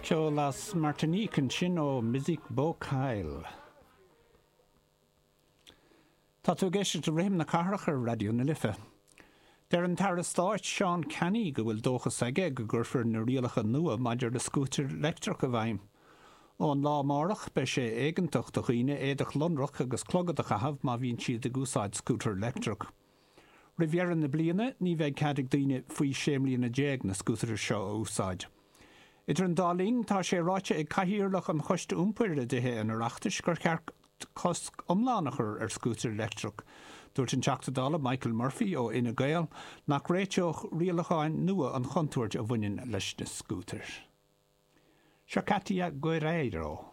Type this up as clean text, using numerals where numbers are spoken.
Ceol as Martinique ansin ó Mizik Bokail. Tá tú ag éisteacht le Rithim na Cathrach ar Raidió na Life. Deir an tAire Stáit Seán Canney go bhfuil dóchas aige go gcuirfear na rialacha nua maidir le scútair leictreach i bhfeidhm. Ón lá amárach beidh sé éigeantach do dhaoine éadach lonrach agus clogad a chaitheamh má bhíonn siad ag úsáid scútar leictreach. Roimh dheireadh na bliana, ní bheidh cead ag daoine faoi 16 mbliana na scútair seo a úsáid. Idir an dá linn, tá sé ráite ag Cathaoirleach an Choiste Iompair i dTithe an Oireachtais gur cheart cosc iomlán a chur ar scútair leictreach. Dúirt an Teachta Dála Michael Murphy ó Fhine Gael nach réiteodh rialacháin nua an chontúirt a bhaineann leis na scútair. Seo Katia Guerreiro.